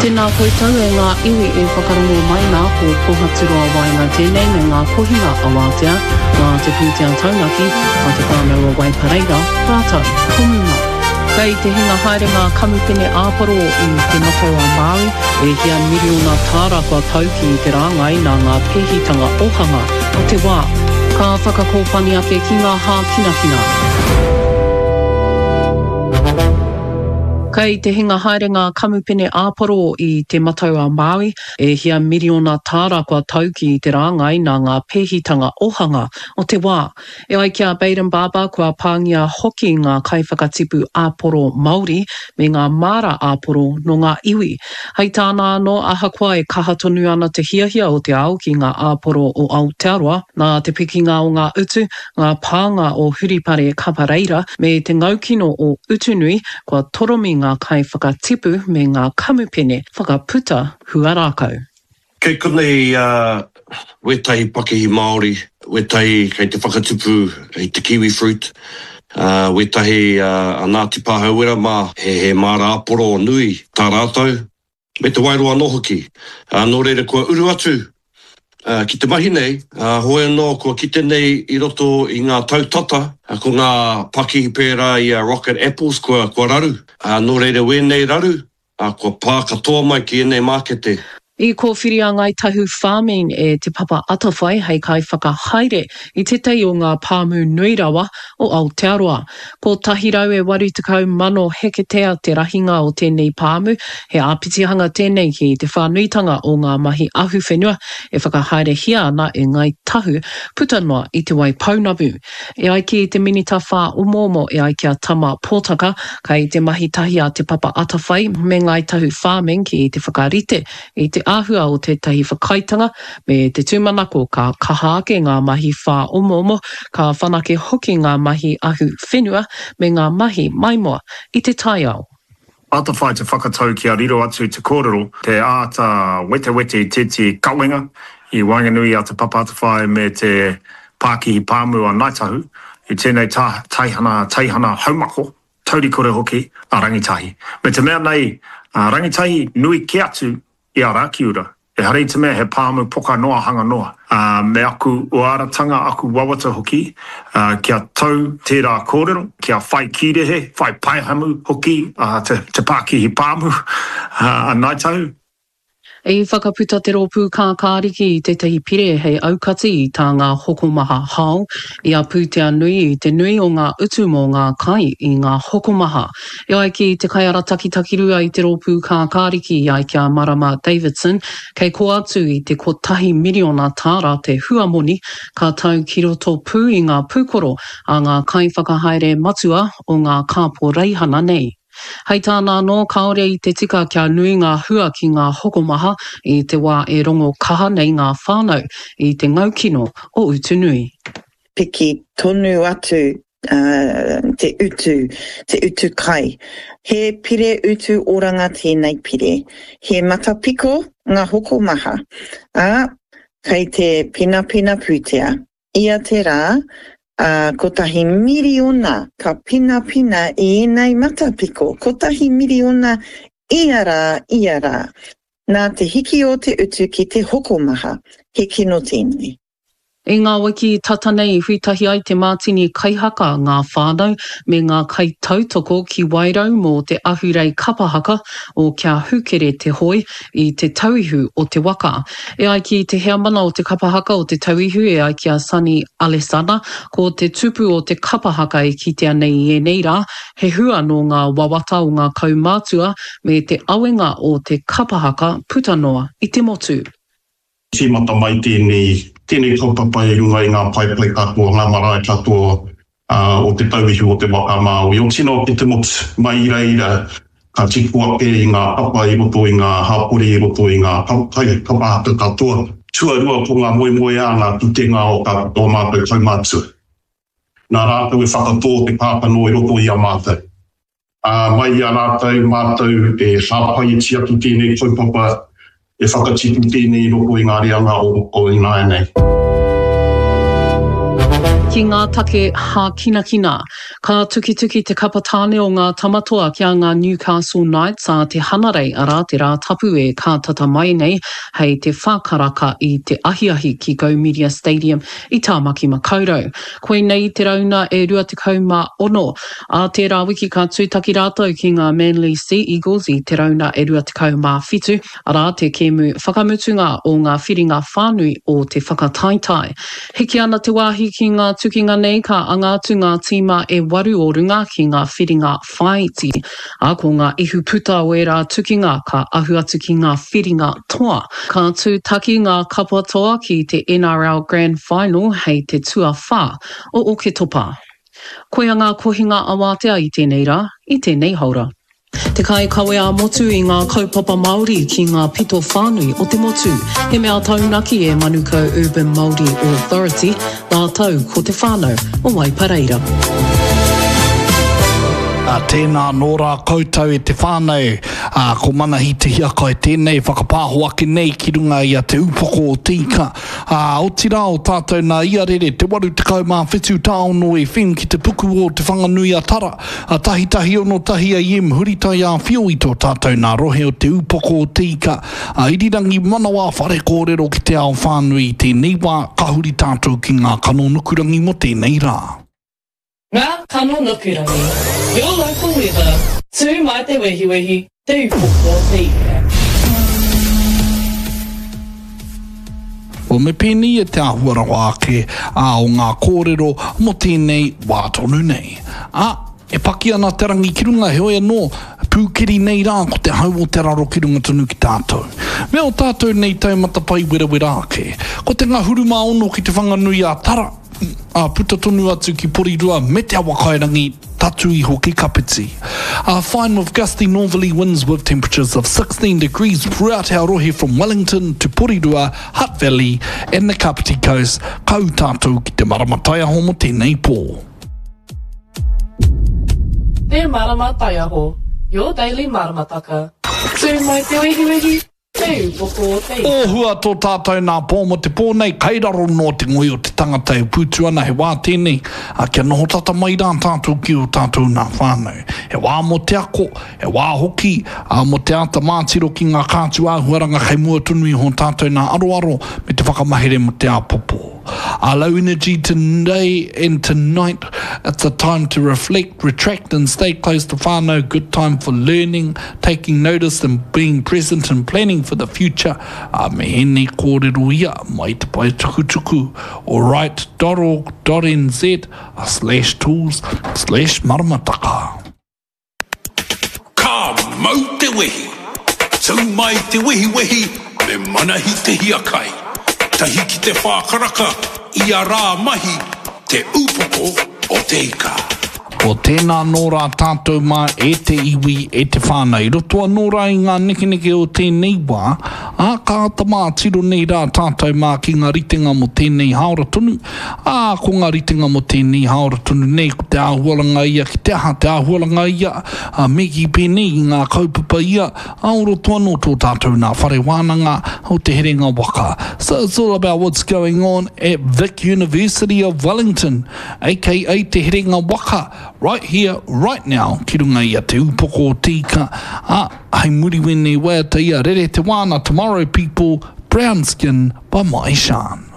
Tēnā koutou e ngā iwi e whakarongo mai nā, ko Pohaturoa Waenga tēnei me ngā kohinga awātea, nā te pūtea taunaki a Te Whānau o Waipareira rātou ko Muma. Kei te hinga haere ngā kamupene āporo i Te Matau a Māui, e hia miriona tāra kua tau ki te rāngai nā ngā pēhitanga ohanga o te wā. Ka whakakōpani ake ki ngā hākinakina. Kei te hinga haere ngā kamupene āporo i Te Matau a Māui, e hia miriona tāra kua tau ki te rāngai nā ngā pēhitanga ohanga o te wā. E ai ki a Bayden Barber kua pāngia hoki ngā kaiwhakatipu āporo Māori me ngā māra āporo nō ngā iwi. Hei tāna anō, ahakoa e kaha tonu ana te hiahia o te ao ki ngā āporo o Aotearoa, nā te pikinga o ngā utu, ngā pānga o Huripare Kapareira me te ngaukino o Utunui, kua toromi ngā kaiwhakatipu me ngā kamupene whakaputa huarākau. Kei konei wētahi pakihi Māori, wētahi kei te whakatupu i te kiwi fruit, wētahi a Ngāti Pāhauwera mā, he māra āporo nui tā rātou. Me te waeroa anō hoki. Ā, nō reira kua uru atu ki te mahi nei, ā, hoi anō kua kite nei i roto i ngā tau tata, ko ngā pakihi pērā i a Rocket Apples kua, kua raru. Ā, nō reira wēnei raru, ā, kua pā katoa mai ki ēnei mākete. I kōwhiri a Ngāi Tahu Farming e Te Papa Atawhai hei kaiwhakahaere i tētahi o ngā pāmu nui rawa o Aotearoa. 180,000 heketea te rahinga o tēnei pāmu, he āpitihanga tēnei ki te whānuitanga o ngā mahi ahuwhenua e whakahaerehia ana e Ngāi Tahu puta noa i Te Waipounamu. E ai ki te Minita Whāomoomo e ai ki a Tama Potaka, kei te mahi tahi a Te Papa Atawhai me Ngāi Tahu Farming ki te whakarite i te āhua o tētahi whakaaetanga me te tūmanako ka kaha ake ngā mahi whāomoomo, ka whanake hoki ngā mahi ahu whenua me ngā mahi maimoa i te taiao. Atawhai te whakatau kia riro atu te kōrero, te āta wetewete i tētehi kawenga i waenganui i a Te Papa Atawhai me te Pākihi Pāmu a Ngāi Tahu i tēnei taihana teihana haumako, taurikore hoki, a Rangitahi. Me te mea nei, a Rangitahi nui kē atu i a Rakiura. Ehara i te mea he pāmu poka noa hanga noa. Ā, me aku uaratanga, aku wawata hoki, ā, kia tau tērā kōrero, kia whai kīrehe, whai paehamu hoki a te, te pākihi pāmu, ā, a Ngāi Tahu. I whakaputa te Rōpū Kākāriki i tētahi pire hei aukati i tā ngā hokomaha hao i a pūtea nui i te nui o ngā utu mō ngā kai i ngā hokomaha. E ai ki te kaiarataki takirua i te Rōpū Kākāriki i ai ki a Marama Davidson, kei kō atu i te kotahi miriona tāra te huamoni ka tau ki roto pū i ngā pūkoro a ngā kaiwhakahaere matua o ngā kāporeihana nei. Hei tāna anō, kāore i te tika kia nui ngā hua ki ngā hokomaha i te wā e rongo kaha nei ngā whānau i te ngaukino o Utunui. Piki tonu atu te utu, te utu kai. He pire utu oranga tēnei pire. He matapiko ngā hokomaha, ā, kei te penapena pūtea. Ia te rā, ā, kotahi miriona ka penapena i ēnei matapiko, kotahi miriona ia rā, ia rā. Nā te hiki o te utu ki te hokomaha, he kino tēnei. I ngā wiki tata nei i hui tahi ai te mātini kaihaka, ngā whānau, me ngā kaitautoko ki Wairau mō te ahurei kapa haka o Kia Hūkere Te Hoi i Te Tauihu o te Waka. E ai ki te heamana o te kapa haka o Te Tauihu e ai ki a Sonny Alesana, ko te tupu o te kapa haka e kitea nei i ēnei rā, he hua nō ngā wawata o ngā kaumātua me te awenga o te kapa haka puta noa i te motu. Tīmata mai tēnei, tēnei kaupapa i runga i ngā paepae katoa, ngā marae katoa o Te Tauihu o Te Waka a Māui, o tino o te motu. Mai i reira, ka tipu ake i ngā papa i roto i ngā hapori, i roto i ngā kapa haka katoa. Tuarua ko ngā moemoeā, ngā kitenga o ō mātou kaumātua. Nā rātou e whakatō te kākano i roto i a mātou. Ā, mai i a rātou, mātou e hāpai e tiaki tēnei kaupapa, e whakatipu tēnei i roto i ngā reanga o ināianei. Ki ngā take hākinakina. Ka tukituki te kapa tāne o ngā Tamatoa ki a ngā Newcastle Knights ā te Hanarei, arā, te Rātapu e kātata mai nei hei te wha karaka i te ahiahi ki Go Media Stadium i Tāmaki Makaurau. Koinei te rauna e 26. Ā tērā wiki ka tūtaki rātou ki ngā Manly Sea Eagles i te rauna e 27, arā, te kēmu whakamutunga o ngā whiringa whānui o te whakataetae. Hiki ana te wāhi ki ngā tukinga nei ka anga atu ngā tīma e waru o runga ki ngā whiringa whāiti, ā, ko ngā ihu puta o ērā tukinga ka ahu atu ki ngā whiringa toa. Ka tūtaki ngā kapa toa ki te NRL Grand Final hei te tuawhā o Oketopa. Koia ngā kohinga awātea i tēnei rā, i tēnei haora. Te kaikawe ā-motu i ngā kaupapa Māori ki ngā pito whānui o te motu. He mea taunaki e Manukau Urban Māori Authority rātou ko te whānau o Waipareira. Ā, tēnā anō rā koutou e te whānau, ā, ko Manahi Te Hiakai tēnei e whakapāho ake nei ki runga i a Te Upoko o Te Ika, ā, otirā o tātou nā Iarere, te 87 tāono FM ki te puku o Te Whanganui-a-Tara, a tahitahi 61 AM huritai ā-whio i tō tātou nā rohe o Te Upoko o Te Ika, a Irirangi Manawa Whare Kōrero ki te ao whānui i tēnei wā, ka huri tātou ki ngā kano nukurangi mō tēnei rā. Ngā kano nukurangi, Your local weather, Tū mai te wehiwehi, Te Upoko o Te Ika. Well, me pēnei e te āhua rawa ake, ā, o ngā kōrero mō tēnei wā tonu nei. Ā, e paki ana te rangi ki runga, heoi anō, pūkeri nei rā ko te hau o te raro ki runga tonu ki tātou. Me ō tātou nei taumata pai werawera ake. Ko te ngahuru mā ono ki Te Whanganui a Tara, ā, puta tonu atu ki Porirua me Te Awakairangi, tatū iho ki Kapiti. A fine with gusty northerly winds with temperatures of 16 degrees throughout our rohe from Wellington to Porirua, Hutt Valley and the Kapiti Coast, ka ū tātou ki te marama taiaho mō tēnei pō. Te Marama Taiaho, your daily maramataka. Tū mai te wehiwehi, Te upoko o te ika. Ōhua tō tātou nā pō mō te pō nei, kai raro noa te ngoi o te tangata e pūtu ana, he wā tēnei, ā, kia noho tata mai rā tātou ki ō tātou nā whānau. He wā mō te ako, he wā hoki, ā, mō te āta mātiro ki ngā kātū āhuaranga kei mua tonu iho tātou nā aroaro me te whakamahere mō te āpōpō. Our low energy today and tonight, it's a time to reflect, retract and stay close to whānau, good time for learning, taking notice and being present and planning for the future. Ā, me ēnei kōrero ia mai te pae tukutuku o right dot org dot nz slash tools slash maramataka. Ka mau te wehi! Tau mai te wehiwehi me Manahi Te Hiakai. Tahi ki te whākaraka ia rā mahi Te Upoko o Te Ika. Ko tēnā anō rā tātou mā e te iwi, e te whānau. I roto anō rā i ngā nekeneke o tēnei wā, ā, ka āta mātiro nei rā tātou mā ki ngā ritenga mō tēnei hāora tonu, Ā, ko ngā ritenga mō tēnei hāora tonu nei, ko te āhuaranga ia ki te aha, te āhuaranga ia, ā, me kī pēnei i ngā kaupapa ia, ā, o roto anō tō tātou nā whare wānanga o Te Herenga Waka. So it's all about what's going on at Vic University of Wellington, aka Te Herenga Waka, right here, right now, ki runga i a Te Upoko o Te Ika, ā, hei muri wēnei waiata ia, Rere te wāna, Tomorrow People, Brown Skin by Mai Shan.